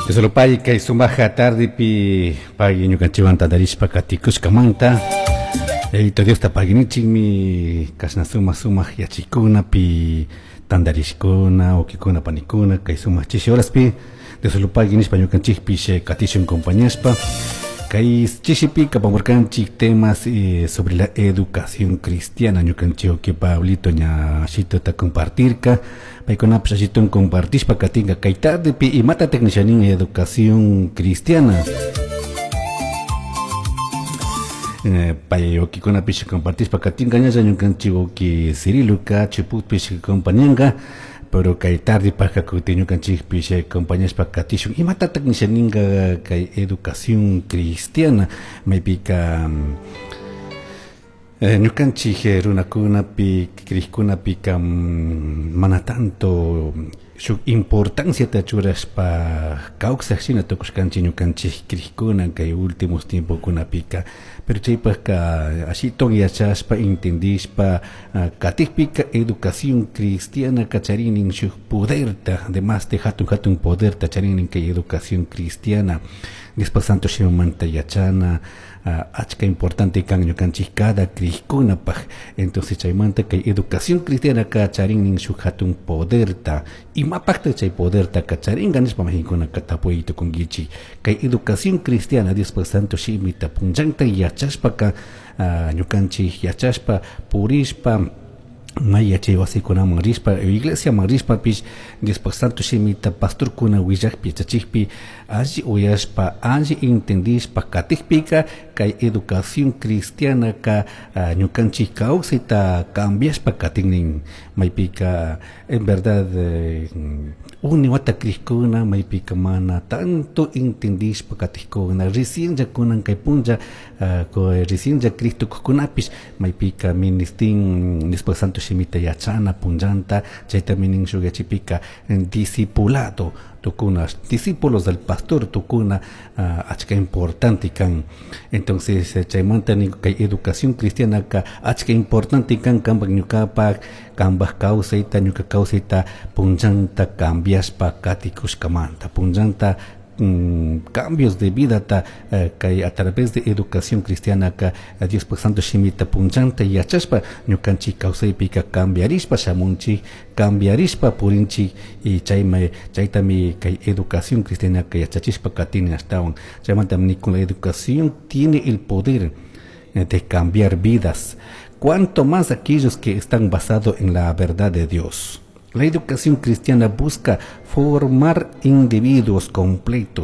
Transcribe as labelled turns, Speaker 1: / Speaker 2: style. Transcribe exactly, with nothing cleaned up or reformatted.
Speaker 1: Dios kay sumaja tardepi pay ñukanchikwan tantarishpa katikushkamanta. Yayito Diosta paginichikmi kashna sumaq sumaq yachikunapi tantarishkuna wawkikuna panikuna kay sumaq chishi horaspi Dios pagui nishpa ñukanchikpish katishun compañashpa kay chishipika apamurkanchik temas eh, sobre la educación cristiana. Ñukanchik wawki Pablito ña ashituta compartirka, paykunapish ashitun compartishpa katinka. Kay tardepi, imatatak nishanin educación cristiana? eh, pay wawkikunapish compartishpa katinka. Ñalla ñukanchik wawki Ciriluka Chiputpish compañanka, pero kay tardepajka kutin ñukanchikpish acompañashpa katishun. Imatatak nishaninka kay educación cristiana? Maypika eh, ñukanchik runakunapi, krikkunapika mana tanto shuk importanciata churashpa kawsaj shina tukushkanchik ñukanchik krikkuna kay últimos tiempokunapika. Pero chaypajka ashiton yachashpa, entendishpa katikpika, educación cristiana charinin shuk poderta, además de hatun hatun poderta charinin kay educación cristiana. Diospak Santo Shimimanta yachana achka importante kan ñukanchik cada krikkunapaj. Entonces chaymanta kay educación cristiana ka charinin shuk hatun poderta. Imapakta chay poderta ka charinka nishpa majinkuna tapuy tukunkichik. Kay educación cristiana, Diospak Santo Shimita punllanta yachashpaka, ñukanchik yachashpa purishpa may yachay wasikunaman rishpa, iglesiaman rishpapish, Diospak Santo Shimita pastorkuna willakpi, yachachikpi alli uyashpa, alli entendishpa katikpika, kay educación cristiana ka ñukanchik kawsayta cambiashpa katinnin. Maypika en verdad eh, uni wata krikkuna maypika mana tanto entendishpa katikkuna, recién ya kunan kay punlla recién ya Cristo kunapish maypika ministin Diospak Santo Shimita yachana punllanta. Chaytami nin shuk yachipika, discipulado tukuna, discípulos del pastor tukuna achka importante kan. Entonces chaymanta nin kay educación cristiana ka achka importante kan kanpak ñukapak kanpak kawsayta, ñuka kawsayta punllanta cambiashpa katikushkamanta, punllanta mm, cambios de vida ta eh, kay a través de educación cristiana ka Diospak Santo Shimita punllanta yachashpa ñukanchik kawsaypika cambiarishpa shamunchik, cambiarishpa purinchik. Y chayma chaytami kay educación cristiana ka yachachishpa katini ashtawan. Chaymantami nikun, la educación tiene el poder eh, de cambiar vidas, cuanto más aquellos que están basados en la verdad de Dios. La educación cristiana busca formar individuos completos.